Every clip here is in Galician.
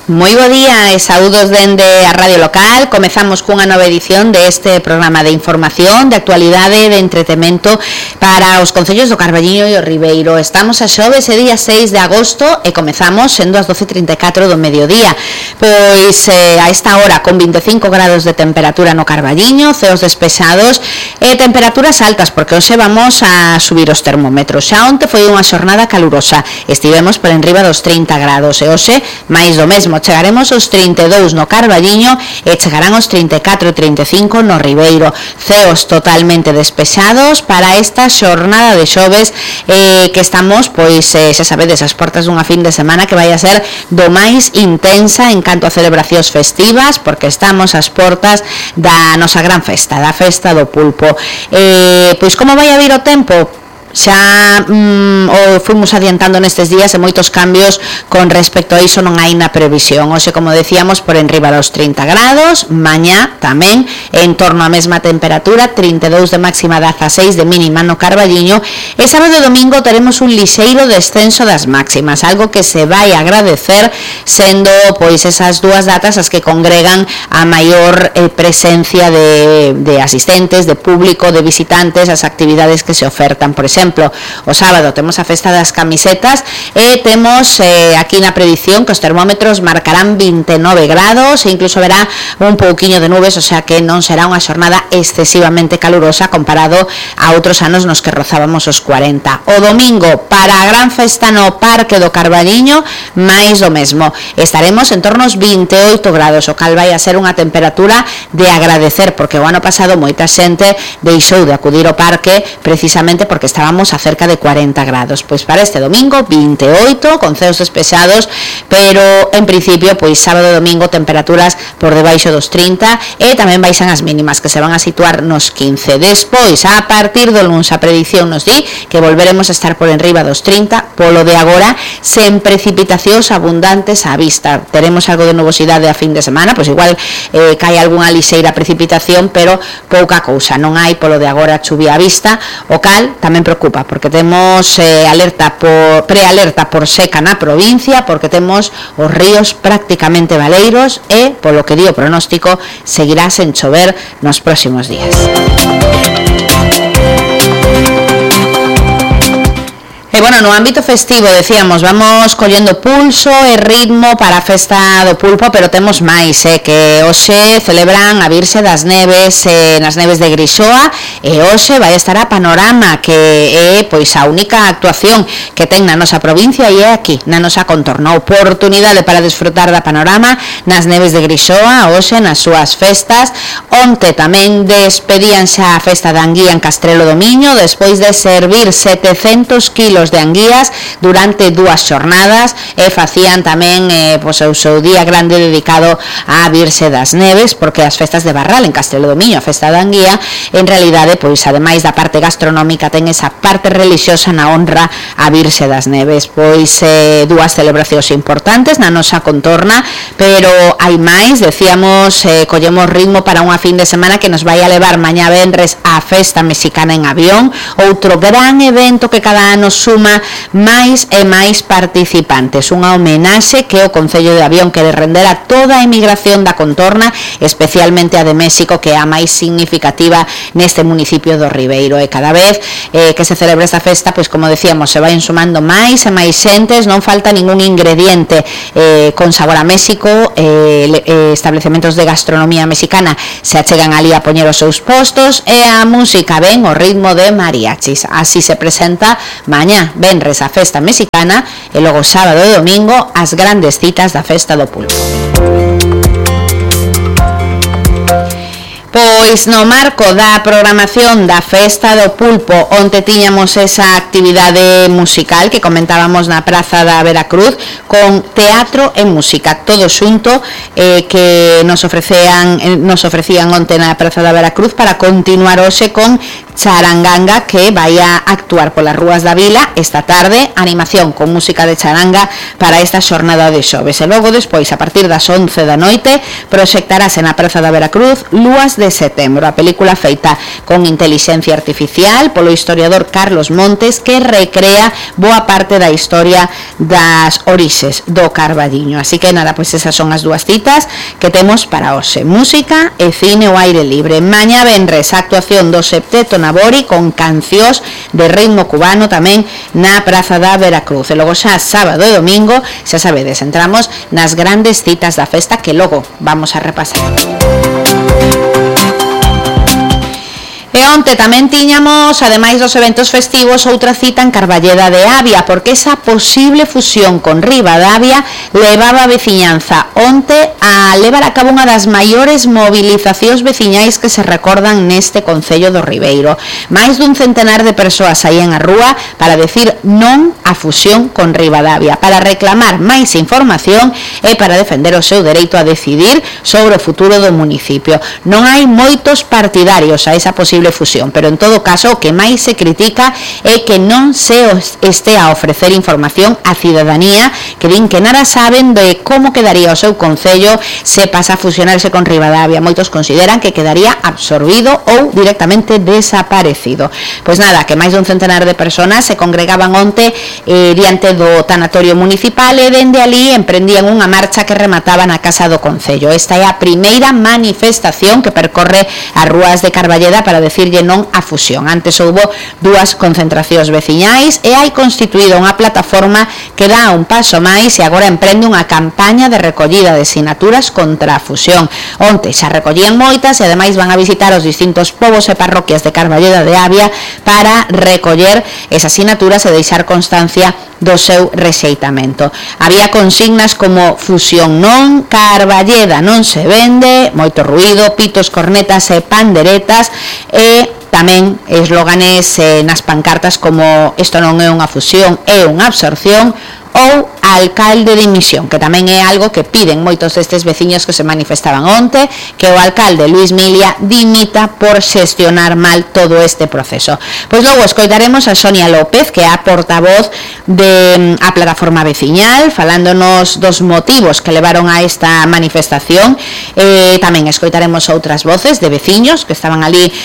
Moi bo día e saúdos dende a Radio Local. Comezamos cunha nova edición deste programa de información, de actualidade, de entretemento para os concellos do Carballiño e o Ribeiro. Estamos a xoves e día 6 de agosto e comezamos sendo as 12:34 do mediodía. Pois a esta hora con 25 grados de temperatura no Carballiño, ceos despexados e temperaturas altas, porque hoxe vamos a subir os termómetros. Xa onte foi unha xornada calurosa, estivemos por enriba dos 30 grados e hoxe máis do mesmo. Chegaremos aos 32 no Carballiño e chegarán aos 34 e 35 no Ribeiro. Ceos totalmente despexados para esta xornada de xoves que estamos, pois, xa sabedes, as portas dunha fin de semana que vai a ser do máis intensa en canto a celebracións festivas, porque estamos ás portas da nosa gran festa, da festa do pulpo. Pois como vai a vir o tempo? Xa o fomos adiantando nestes días e moitos cambios con respecto a iso non hai na previsión. Hoxe, como decíamos, por enriba dos 30 grados, mañá tamén en torno á mesma temperatura, 32 de máxima, 16 de mínima no Carballiño, e sábado e domingo teremos un lixeiro descenso das máximas, algo que se vai agradecer, sendo pois esas dúas datas as que congregan a maior presencia de asistentes, de público, de visitantes, as actividades que se ofertan. Por exemplo, o sábado temos a festa das camisetas e temos aquí na predición que os termómetros marcarán 29 grados e incluso verá un pouquiño de nubes, o sea que non será unha xornada excesivamente calurosa comparado a outros anos nos que rozábamos os 40. O domingo, para a gran festa no Parque do Carballiño, máis do mesmo. Estaremos en torno aos 28 grados, o cal vai a ser unha temperatura de agradecer, porque o ano pasado moita xente deixou de acudir ao parque precisamente porque estábamos a cerca de 40 grados. Pois para este domingo 28 con ceos despexados, pero en principio pois sábado e domingo temperaturas por debaixo dos 30 e tamén baixan as mínimas que se van a situar nos 15. Despois, a partir do luns, a predición nos di que volveremos a estar por enriba dos 30, polo de agora sen precipitacións abundantes á vista. Teremos algo de nubosidade a fin de semana, pois igual cae algunha lixeira precipitación, pero pouca cousa, non hai polo de agora chuvia á vista, o cal tamén preocupa, porque temos prealerta por seca na provincia, porque temos os ríos prácticamente baleiros e, polo que di o pronóstico, seguirá sen chover nos próximos días. E bueno, no ámbito festivo, decíamos, vamos collendo pulso e ritmo para a festa do pulpo, pero temos máis, que hoxe celebran a Virxe das Neves nas Neves de Grixoa, e hoxe vai estar a Panorama, que é pois a única actuación que ten na nosa provincia e é aquí, na nosa contorna. Oportunidade para desfrutar da Panorama nas Neves de Grixoa, hoxe nas súas festas. Onte tamén despedían xa a festa da anguía en Castrelo do Miño, despois de servir 700 kilos de anguías durante 2 xornadas e facían tamén pois o seu día grande dedicado á Virxe das Neves, porque as festas de Barral en Castrelo do Miño, a festa da anguía, en realidade, pois ademais da parte gastronómica, ten esa parte religiosa na honra á Virxe das Neves. Pois 2 celebracións importantes na nosa contorna, pero hai máis, decíamos, collemos ritmo para unha fin de semana que nos vai a levar mañá venres á festa mexicana en Avión, outro gran evento que cada ano suma máis e máis participantes, unha homenaxe que o Concello de Avión quere render a toda a emigración da contorna, especialmente a de México, que é a máis significativa neste municipio do Ribeiro, e cada vez que se celebra esta festa, pois como decíamos, se vai sumando máis e máis xentes, non falta ningún ingrediente con sabor a México, establecementos de gastronomía mexicana se achegan ali a poñer os seus postos, e a música ven o ritmo de mariachis. Así se presenta mañá venres a festa mexicana e logo sábado e domingo as grandes citas da festa do pulpo. Pois no marco da programación da Festa do Pulpo, onte tiñamos esa actividade musical que comentábamos na Praza da Veracruz, con teatro e música, todo xunto, que nos ofrecían onte na Praza da Veracruz, para continuar hoxe con Charanganga, que vai a actuar polas rúas da vila esta tarde, animación con música de charanga para esta xornada de xoves. E logo despois, a partir das 11 da noite, proxectarase na Praza da Veracruz Lúas de de setembro. A película feita con inteligencia artificial polo historiador Carlos Montes, que recrea boa parte da historia das orixes do Carballiño. Así que nada, pois esas son as dúas citas que temos para hoxe: música e cine ao aire libre. Mañá venres a actuación do Septeto Nabori con cancións de ritmo cubano tamén na Praza da Veracruz. E logo xa sábado e domingo, xa sabedes, entramos nas grandes citas da festa que logo vamos a repasar. E onte tamén tiñamos, ademais dos eventos festivos, outra cita en Carballeda de Avia, porque esa posible fusión con Ribadavia levaba a veciñanza onte a levar a cabo unha das maiores movilizacións veciñais que se recordan neste concello do Ribeiro. Máis dun centenar de persoas saían á rúa para decir non á fusión con Ribadavia, para reclamar máis información e para defender o seu dereito a decidir sobre o futuro do municipio. Non hai moitos partidarios a esa posible fusión, pero en todo caso o que máis se critica é que non se estea a ofrecer información á cidadanía, que din que nada saben de como quedaría o seu concello se pasa a fusionarse con Ribadavia. Moitos consideran que quedaría absorbido ou directamente desaparecido. Pois nada, que máis dun centenar de personas se congregaban onte diante do tanatorio municipal e dende ali emprendían unha marcha que remataba na Casa do Concello. Esta é a primeira manifestación que percorre as rúas de Carballeda para decirlle non á fusión. Antes houbo dúas concentracións veciñais e hai constituído unha plataforma que dá un paso máis e agora emprende unha campaña de recollida de sinaturas contra a fusión. Onte xa recollían moitas e ademais van a visitar os distintos povos e parroquias de Carballeda de Avia para recoller esas sinaturas e deixar constancia do seu rexeitamento. Había consignas como fusión non, Carballeda non se vende, moito ruído, pitos, cornetas e panderetas, e tamén eslóganes nas pancartas como isto non é unha fusión, é unha absorción, ou alcalde de dimisión, que tamén é algo que piden moitos destes veciños que se manifestaban onte, que o alcalde Luis Milia dimita por xestionar mal todo este proceso. Pois logo escoitaremos a Sonia López, que é a portavoz de a plataforma veciñal, falándonos dos motivos que levaron a esta manifestación. Tamén escoitaremos outras voces de veciños que estaban ali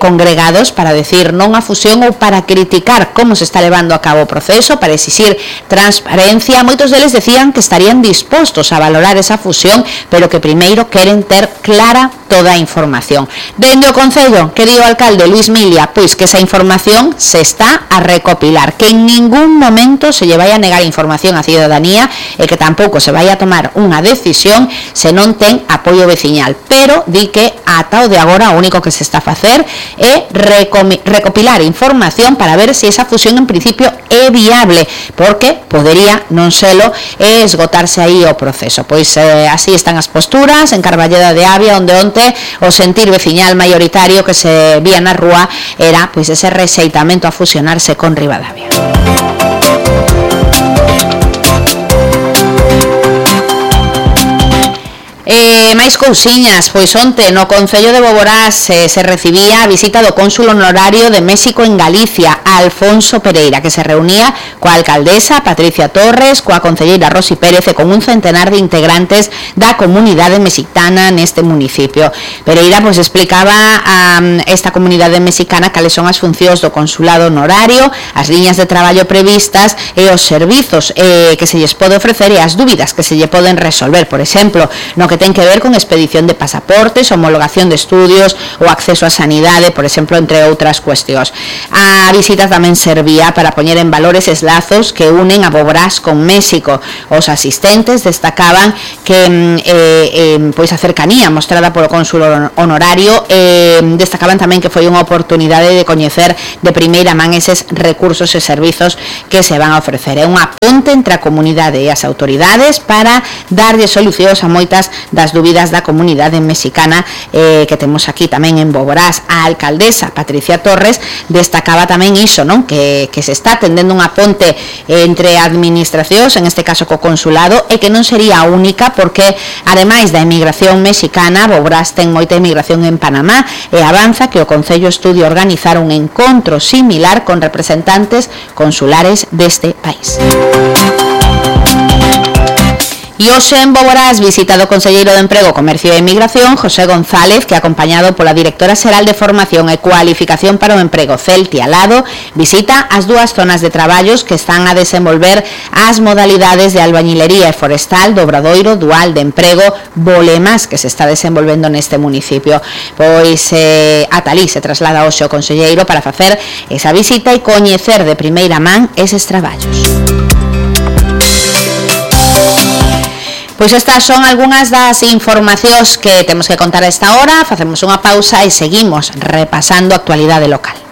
congregados para decir non a fusión ou para criticar como se está levando a cabo o proceso, para exixir transparencia. Moitos deles decían que estarían dispostos a valorar esa fusión, pero que primeiro queren ter clara toda a información. Dende o Concello, que di o alcalde Luis Milia, pois que esa información se está a recopilar, que en ningún momento se lle vai a negar información á cidadanía e que tampouco se vai a tomar unha decisión se non ten apoio veciñal, pero di que ata o de agora o único que se está a facer é recopilar información para ver se esa fusión en principio é viable, porque podería non selo e esgotarse aí o proceso. Pois así están as posturas en Carballeda de Avia, onde onte o sentir veciñal maioritario que se vía na rúa era pois ese rexeitamento a fusionarse con Ribadavia. Máis cousiñas, pois onte no Concello de Boborás se recibía a visita do cónsul honorario de México en Galicia, Alfonso Pereira, que se reunía coa alcaldesa Patricia Torres, coa concelleira Rosy Pérez e con un centenar de integrantes da comunidade mexicana neste municipio. Pereira pois explicaba a esta comunidade mexicana cales son as funcións do consulado honorario, as liñas de traballo previstas e os servizos que se lles pode ofrecer e as dúbidas que se lle poden resolver, por exemplo, no que ten que ver con expedición de pasaportes, homologación de estudios ou acceso á sanidade, por exemplo, entre outras cuestións. A visita tamén servía para poñer en valor eses lazos que unen a Boborás con México. Os asistentes destacaban que pois a cercanía mostrada polo cónsul honorario, destacaban tamén que foi unha oportunidade de coñecer de primeira man eses recursos e servizos que se van a ofrecer. É unha ponte entre a comunidade e as autoridades para darlle solucións a moitas das dúbidas da comunidade mexicana que temos aquí tamén en Boborás. A alcaldesa Patricia Torres destacaba tamén iso, non? Que se está tendendo unha ponte entre administracións, en este caso co consulado, e que non sería a única, porque ademais da emigración mexicana, Boborás ten moita emigración en Panamá e avanza que o Concello estudia organizar un encontro similar con representantes consulares deste país. E hoxe en Boborás visita do Conselleiro de Emprego, Comercio e Emigración, José González, que acompañado pola Directora Xeral de Formación e Cualificación para o Emprego, Celti Alado, visita as dúas zonas de traballos que están a desenvolver as modalidades de albañilería e forestal do Obradoiro Dual de Emprego Bolemas, que se está desenvolvendo neste municipio. Pois ata alí se traslada hoxe o Conselleiro para facer esa visita e coñecer de primeira man eses traballos. Pois estas son algunhas das informacións que temos que contar a esta hora. Facemos unha pausa e seguimos repasando a actualidade local.